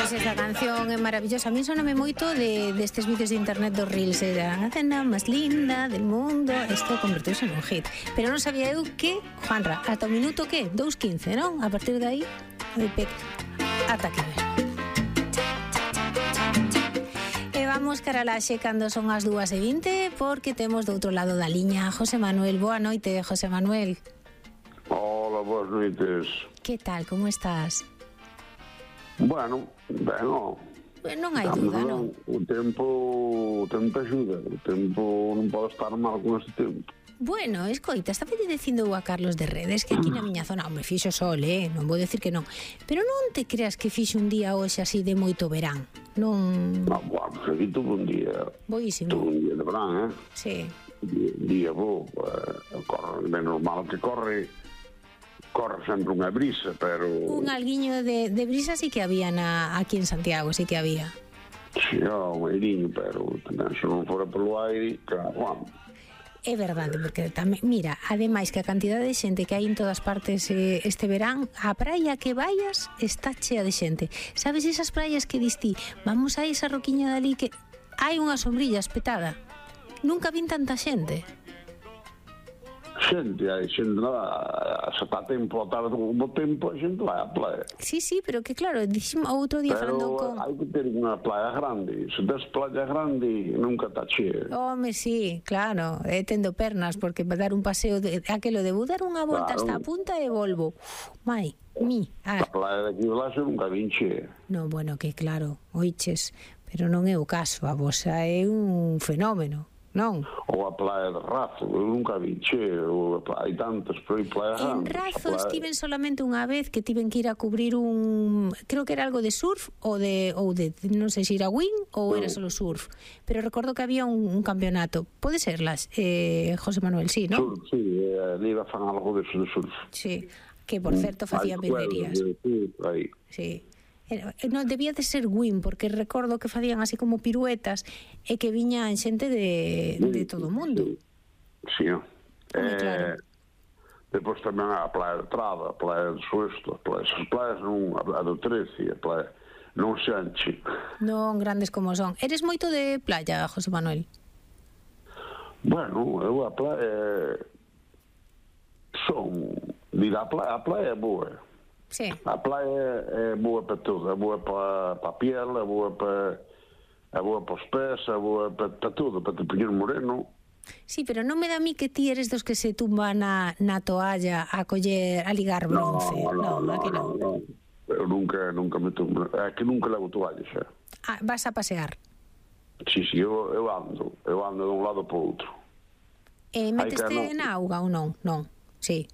Pois esta canción é maravillosa. A mí soname moito destes vídeos de internet dos Reels. Era a cena máis linda del mundo. Isto converteuse nun hit. Pero non sabía eu que, Juanra, ata o minuto que? 2:15, non? A partir de aí, ata que ver. E vamos cara a Laxe cando son as 2:20, porque temos do outro lado da liña José Manuel. Boa noite, José Manuel. Hola, boas noites. Que tal, como estás? Bueno, non hai dúda, non? O tempo axuda. O tempo non pode estar mal con este tempo. Bueno, escoita, estaba dicindo a Carlos de Redes que aquí na miña zona, hombre, fixo sol, non vou decir que non, pero non te creas que fixo un día hoxe así de moito verán, non... No, bueno, aquí tuvo un día... Boísimo. Tuvo un día de verán, Sí. Día bo, corre, é normal que corre sempre unha brisa, pero... Un alguiño de brisa sí que había aquí en Santiago, sí que había. Sí, un airiño, pero tamén se non fora polo aire, claro, bueno. É verdade, porque tamén, mira, ademais que a cantidade de xente que hai en todas partes este verán, a praia que vayas está chea de xente. Sabes esas praias que diste, vamos a esa roquiña dali que hai unha sombrilla espetada? Nunca vin tanta xente. Xente, se está tempo a tarde do tempo, a xente vai á playa. Sí, pero que claro, dixemos outro día falando con... Pero hai que ter unha playa grande. Se tes playa grande, nunca está chea. Home, sí, claro, tendo pernas, porque para dar un paseo aquelo de vou dar unha volta hasta a punta e volvo. A playa de aquí de Laxe nunca vin chea. No, bueno, que claro, oiches, pero non é o caso, a vosa é un fenómeno. Non. Ou a playa de Razo, eu nunca vi hai tantas, pero hai playa en Razo estiven solamente unha vez que tiven que ir a cubrir creo que era algo de surf ou de non sei se era wing ou era solo surf, pero recordo que había un campeonato, pode ser José Manuel, sí, non? Sí, ali iba a fan algo de surf. Sí, que por certo facían virguerías. Sí. Non debía de ser win, porque recordo que facían así como piruetas e que viñan xente de todo o mundo. Sí, claro. Depois tamén a playa de Traba, a playa de Suesto, esas playas non, a do 13, a playa non se anche. Non grandes como son. Eres moito de playa, José Manuel? Bueno, eu a playa a playa é boa. Sí. A playa é boa para tudo, é boa para a piel, é boa para os pés, é boa para tudo, para te poñer moreno. Sí, pero non me dá a mí que ti eres dos que se tumba na toalla a ligar bronce. Non. Eu nunca me tumbo, é que nunca levo toalla xa. Vas a pasear? Sí, eu ando de un lado para o outro. Meteste na auga ou non? Non, sí.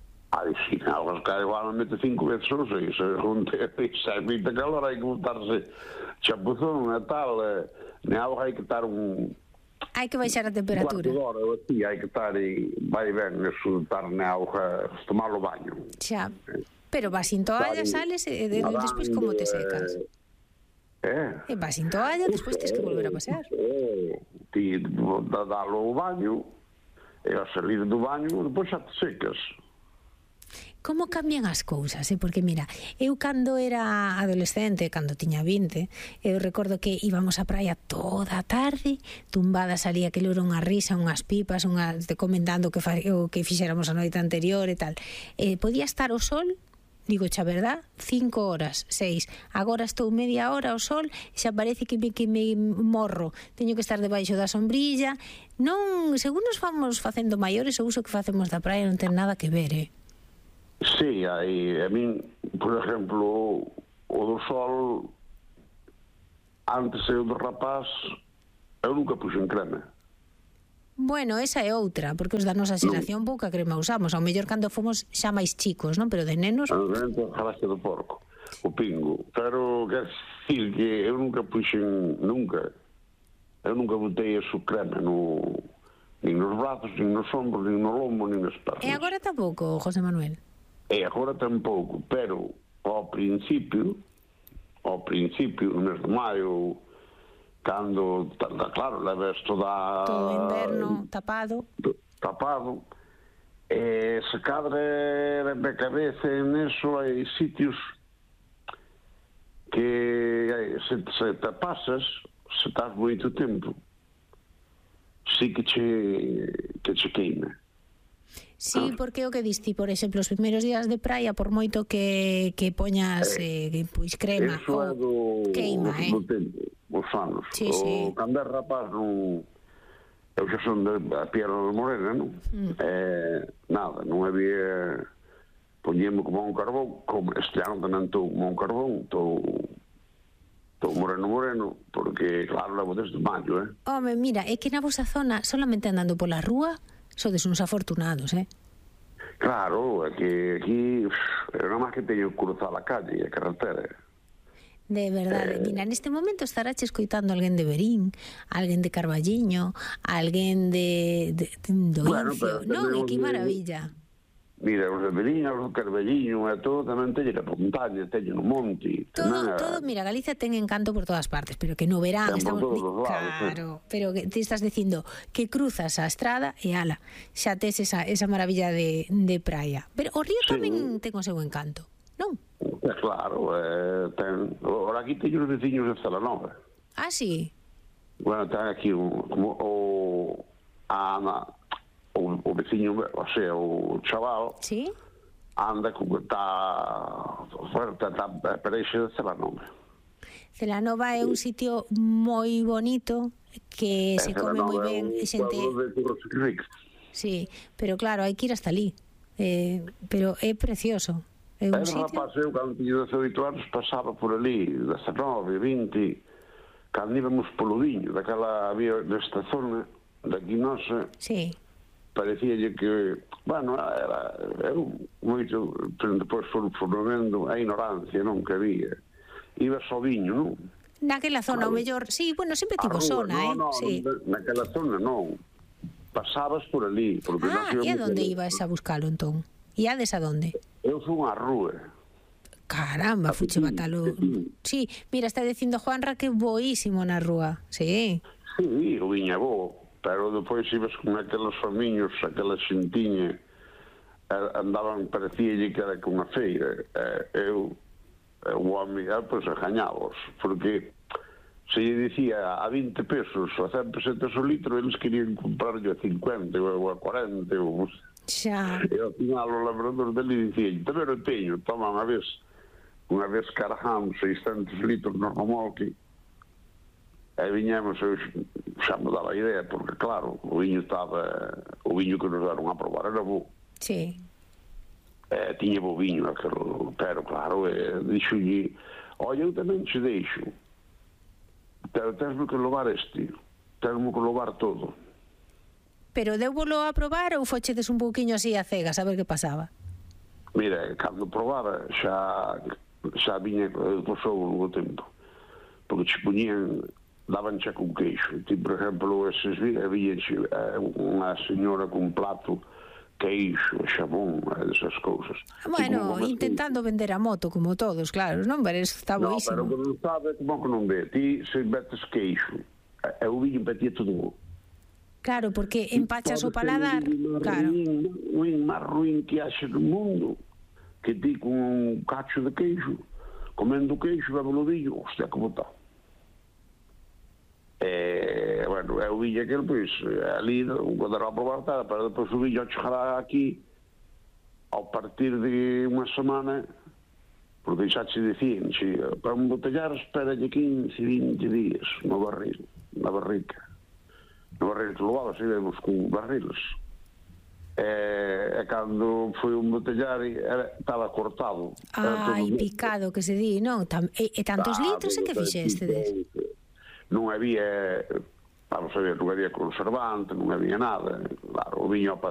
Sí, algo que igual me mete 5 veces, non sei, se é moita calor, hai que botarse chapuzón e tal, na auga hai que estar hai que baixar a temperatura. Un cuarto de hora, así, hai que estar vai ben, eso, estar na auga, tomar o baño. Xa, pero vas sin toalla, sales, e despois como te secas? E vas sin toalla, despois tens que volver a pasear. Ti dalo o baño, e a salir do baño, depois xa te secas. Como cambian as cousas, porque mira, eu cando era adolescente, cando tiña 20, eu recordo que íbamos á praia toda a tarde, tumbadas ali, aquilo era unha risa, unhas pipas, comentando o que fixéramos a noite anterior e tal. Podía estar o sol, digo xa verdad, 5 horas, 6. Agora estou media hora ao sol, xa parece que me morro. Teño que estar debaixo da sombrilla. Non, según nos vamos facendo maiores, o uso que facemos da praia non ten nada que ver, Sí, a min, por exemplo, o do sol, antes eu do rapaz, eu nunca puxen crema. Bueno, esa é outra, porque os da nosa xeración pouca crema usamos, ao mellor cando fomos xa máis chicos, non? Pero de nenos... Dentro da jalaste do porco, o pingo. Pero, quer decir que eu nunca puxen, eu nunca botei a su crema nin nos brazos, nin nos ombros, nin no lombo, nin nas pernas. E agora tampouco, José Manuel? E agora tampouco, pero ao principio, no mes de maio, cando, claro, leves todo o inverno tapado, se cadre de cabeza en eso hai sitios que se te pasas, se estás moito tempo, sí que che queima. Sí, porque o que diste, por exemplo, os primeiros días de praia, por moito que poñas pois crema, Eso é do queima, tempo, os anos. Sí, sí. Cando é rapaz, non... Eu xa son de Piedra de Morena, non? Nada, non había... Poñemos como un carbón, como este ano tamén estou como un carbón, estou moreno, porque, claro, levo desde maio, Home, mira, é que na vosa zona, solamente andando pola rúa, sodes uns afortunados, Claro, é que aquí, eu non máis que teño que cruzar a calle, a carretera. De verdade, mira, neste momento estarás escoitando alguén de Verín, alguén de Carballiño, alguén do Incio. Non, que maravilla. Mira, os de Verín, os de Carballiño e todo tamén teñen a montaña, teñen o monte. Todo, mira, Galicia ten encanto por todas partes, pero que no verán estamos... Claro, pero que te estás dicindo que cruzas a estrada e ala, xa tes esa maravilla de praia. Pero o río tamén ten o seu encanto, non? Claro, ahora aquí teño os veciños de Celanova. Ah, sí? Bueno, ten aquí o veciño, o sea, o chaval, sí? anda como está pareixe de Celanova. Celanova é un sitio moi bonito que se come moi ben, xente. Sí, pero claro, hai que ir hasta ali. Pero é precioso. É un sitio. Rapaz, eu cando tiño 18 anos pasaba por ali, 19, 20, cando íbamos polo viño, daquela había nesta zona daqui nosa. Sí. Parecíalle que, bueno, era moito, depois foron vendo a ignorancia, non, que había. Iba só viño, non? Naquela zona, o mellor, sí, bueno, sempre tivo zona, sí. Naquela zona non. Pasabas por ali. E a donde ibas a buscalo, entón? Iades a donde? Eu fui á rúa. Caramba, fuche batalo. Sí, mira, está dicindo Juanra que boísimo na rúa, sí. Sí, o viña bo. Pero depois ibas con aqueles famiños, aquela xentiña, andaban, parecíalle que era con a feira. O home, pois, gañábos, porque se lle dicía a 20 pesos ou a 100 pesetas o litro, eles querían comprarlle a 50 ou a 40, xa. E ao final o labrador dele dicía, tamén o teño, toma unha vez cargamos 600 litros no remolque. E viñamos, eu xa me daba a idea, porque claro, o viño que nos deron a probar era bo. Sí. Tiña bo viño, pero claro, dixolle, olha, eu tamén che deixo, pero tens-me que levar tens-me que levar todo. Pero deuvolo a probar ou fochedes un pouquiño así a cegas, a ver que pasaba? Mira, cando probara, xa viña, pasou o tempo, porque che poñían, daban xa con queixo. Ti, por exemplo, había unha señora con un plato, queixo, xabón, esas cousas. Bueno, intentando vender a moto, como todos, claro, non? Pero está boísimo. No, pero non sabe, como que non ve. Ti, se metes queixo, e o viño empatía todo. Claro, porque empachas o paladar, claro. O máis ruín que haxe no mundo, que ti con un cacho de queixo, comendo queixo, bebe o viño, hostia, como está. Bueno, o viño aquel, pois, ali, cando era a probar, pero depois o viño chegará aquí, ao partir de unha semana, porque xa che dicían, para embotellar, esperalle 15, 20 días no barril, na barrica. No barril que levaba, se vemos con barriles. E cando foi un botellar, estaba cortado. Ai, picado, que se di, non? E tantos litros que fixestedes? Non había, vamos a ver, non había conservante, non había nada. Claro, o viño a